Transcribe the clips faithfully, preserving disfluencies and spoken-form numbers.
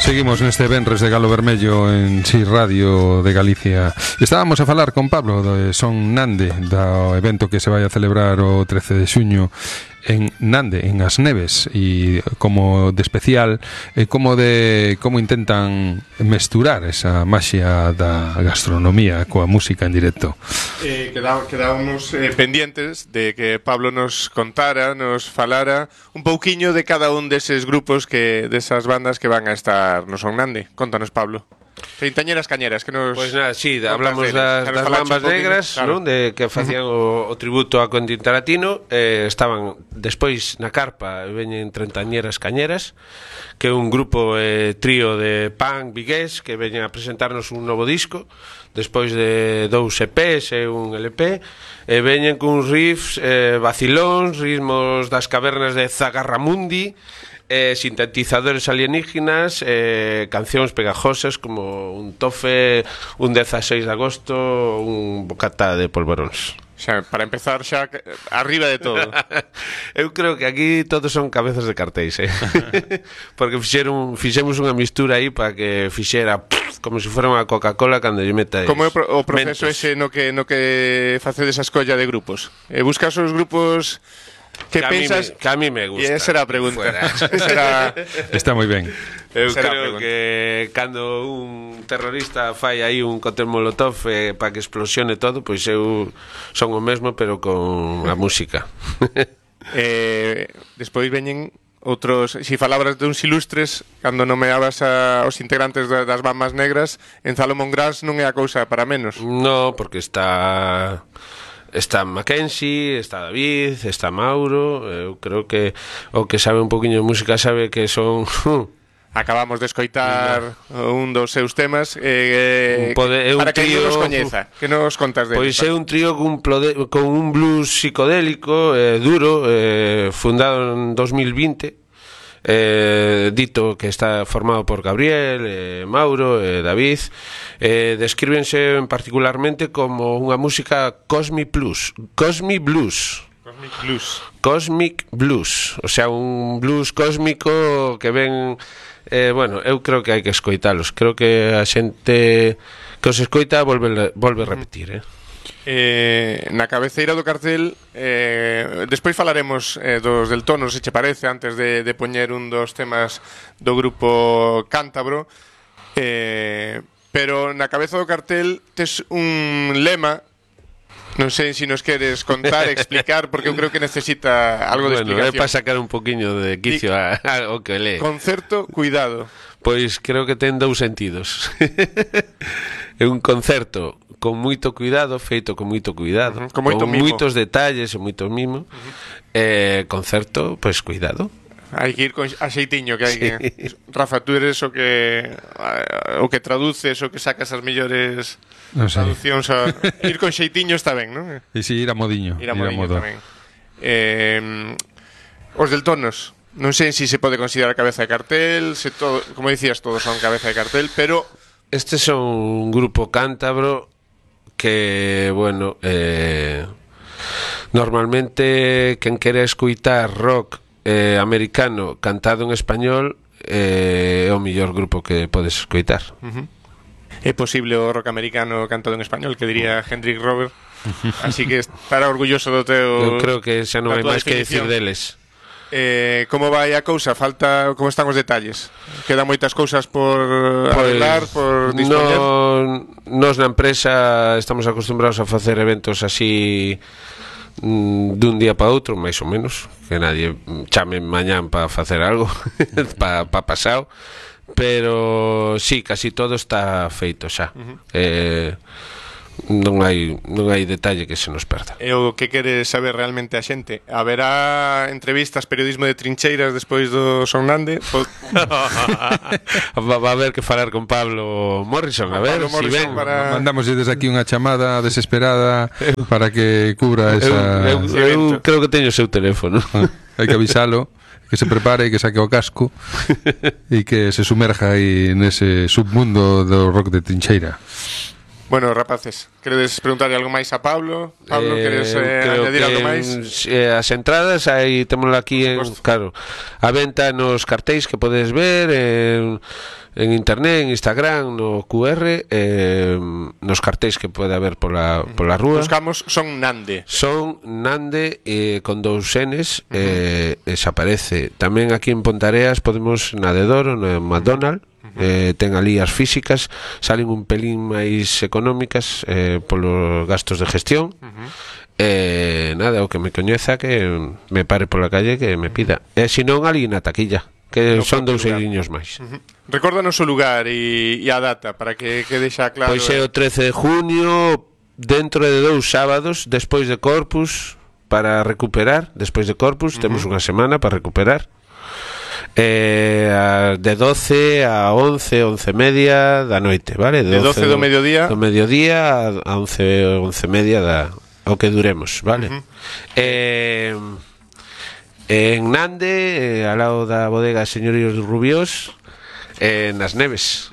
Seguimos neste venres de Galo Vermello en Si Radio de Galicia. Estábamos a falar con Pablo de Son Nande, do evento que se vai a celebrar o trece de xuño en Nande, en As Neves, e como de especial, eh, como de como intentan mesturar esa maxia da gastronomía coa música en directo. Eh, quedá, quedábamos eh, pendientes de que Pablo nos contara, nos falara un pouquiño de cada un deses grupos, que desas bandas que van a estar no Son Nande. Contanos, Pablo. Treintañeras cañeras que nos... Pois pues nada, sí, hablamos das, das Bambas Negras, claro, non? De que facían o, o tributo a Quentin Tarantino. eh, Estaban despois na carpa, veñen Treintañeras Cañeras, que é un grupo eh, trío de punk vigués que veñen a presentarnos un novo disco despois de dous E Pes e un L P, e veñen cun riffs eh, vacilóns, ritmos das cavernas de Zagarramundi, Eh, sintetizadores alienígenas, eh, cancións pegajosas como un tofe, un dezasseis de agosto, un bocata de polvoróns. Xa, para empezar xa arriba de todo. Eu creo que aquí todos son cabezas de cartéis, eh? Porque fixeron, fixemos unha mistura aí para que fixera pff, como se fora unha Coca-Cola cando lle metais. Como é o proceso mentos. ese no que, no que facedes a escolla de grupos? Eh, buscas os grupos... Que, que, pensas... a me, que a mí me gusta. E esa era a pregunta. Será... Está moi ben. Eu Será creo que cando un terrorista fai aí un cóctel molotov eh, para que explosione todo, pois eu son o mesmo, pero con a música. eh, Despois veñen outros... Si falabras de uns ilustres, cando nomeabas a, os integrantes das Bambas Negras, en Salomon Gras non é a cousa para menos. No, porque está... Está Mackenzie, está David, está Mauro. Eu creo que o que sabe un poquinho de música sabe que son... Acabamos de escoitar no. un dos seus temas eh, Pode, para que trío, non nos coñeza. Que nos contas de Pois é un trío con un, plode, con un blues psicodélico eh, duro, eh, fundado en dos mil vinte. Eh, dito que está formado por Gabriel, eh, Mauro, eh, David. eh, Descríbense particularmente como unha música Cosmic Blues. Cosmic Blues Cosmic Blues Cosmic Blues, o sea, un blues cósmico que ven... eh, Bueno, eu creo que hai que escoitalos. Creo que a xente que os escoita volve, volve a repetir, eh Eh, na cabeceira do cartel eh, despois falaremos eh, dos del tono, se che parece, antes de, de poñer un dos temas do grupo cántabro, eh, pero na cabeza do cartel tes un lema. Non sei se nos queres contar, explicar, porque eu creo que necesita algo de bueno, explicación. é para sacar un poquinho de quicio a, a, o que lee. Concerto, cuidado. Pois creo que ten dous sentidos. É un concerto con moito cuidado, feito con moito cuidado, uh-huh, con, moito con moitos detalles e moito mimo. Uh-huh. Eh, concerto, pois cuidado. Hai que ir con a xeitiño, que hai sí. que... Rafa, tú eres o que o que traduces, o que sacas as mellores no sé. traduccións a... Ir con xeitiño está ben, non? E si, ir a modiño. Ir a modiño tamén. Eh, os del Tonos, non sei se se pode considerar cabeza de cartel, se todo, como dicías, todos son cabeza de cartel, pero... Este son un grupo cántabro que, bueno, eh, normalmente quen quere escuitar rock eh, americano cantado en español eh, é o mellor grupo que podes escoitar. Uh-huh. É posible o rock americano cantado en español, que diría Hendrik Robert. Así que estará orgulloso do teu... Eu creo que xa non hai máis que decir deles. Eh, como vai a cousa? Falta, como están os detalles? Quedan moitas cousas por pues, arreglar, por dispoñer? No, nos na empresa estamos acostumbrados a facer eventos así mm, dun día para outro, máis ou menos, que nadie chame mañán para facer algo para pa pasado, pero sí, casi todo está feito xa. Uh-huh. eh, non hai non hai detalle que se nos perda. E o que quere saber realmente a xente? Haberá entrevistas, periodismo de trincheiras despois do Son Nande? Va a haber que falar con Pablo Morrison, a ver si ven. Para... Mandamos desde aquí unha chamada desesperada para que cubra esa... Eu, eu, eu creo que teño o seu teléfono. Hai que avisalo, que se prepare, que saque o casco e que se sumerja aí nese submundo do rock de trincheira. Bueno, rapaces, queredes preguntarle algo máis a Pablo? Pablo, eh, queres eh, añadir algo máis? Eh, as entradas, aí témoslo aquí en, claro, a venta nos cartéis que podes ver en, en internet, en Instagram, no Q R, eh, nos cartéis que pode haber pola, pola rúa. Buscamos Son Nande. Son Nande eh, con dous Ns, eh, uh -huh. se aparece. Tamén aquí en Pontareas podemos na de Doro, no McDonald's. Eh, ten ali as físicas, salen un pelín máis económicas eh, polos gastos de gestión. uh -huh. eh, nada, o que me coñeza que me pare pola calle que me pida, e eh, se non ali na taquilla, que no son dous euriños máis. uh -huh. Recórdanos o lugar e a data para que quede xa claro. Pois é o trece de junio, dentro de dous sábados despois de Corpus, para recuperar. Despois de Corpus uh -huh. temos unha semana para recuperar. Eh, de doce a once, once media da noite, vale? De doce do mediodía do mediodía a once, once media da o que duremos, vale? Uh -huh. eh, en Nande, eh, ao lado da bodega Señoríos Rubiós, eh, nas Neves.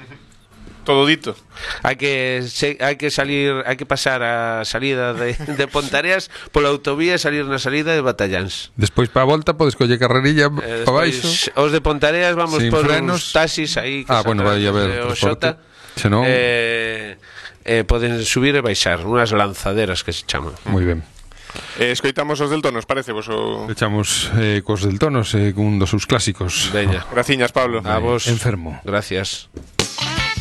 Todo dito. Hai que se, hai que salir, hai que pasar a salida de, de Pontareas pola autovía e salir na salida de Batalláns. Despois para a volta podes coller carrerilla eh, para baixo. Os de Pontareas vamos sin por frenos. Uns taxis aí que ah, bueno, vai a ver o Xota. Senón... Eh, eh, poden subir e baixar, unhas lanzaderas que se chaman. Moi ben. Eh, escoitamos os del Tonos, parece vos o... Echamos eh, cos del Tonos, eh, un dos seus clásicos. Veña. Graciñas, Pablo. A vos. Enfermo. Gracias.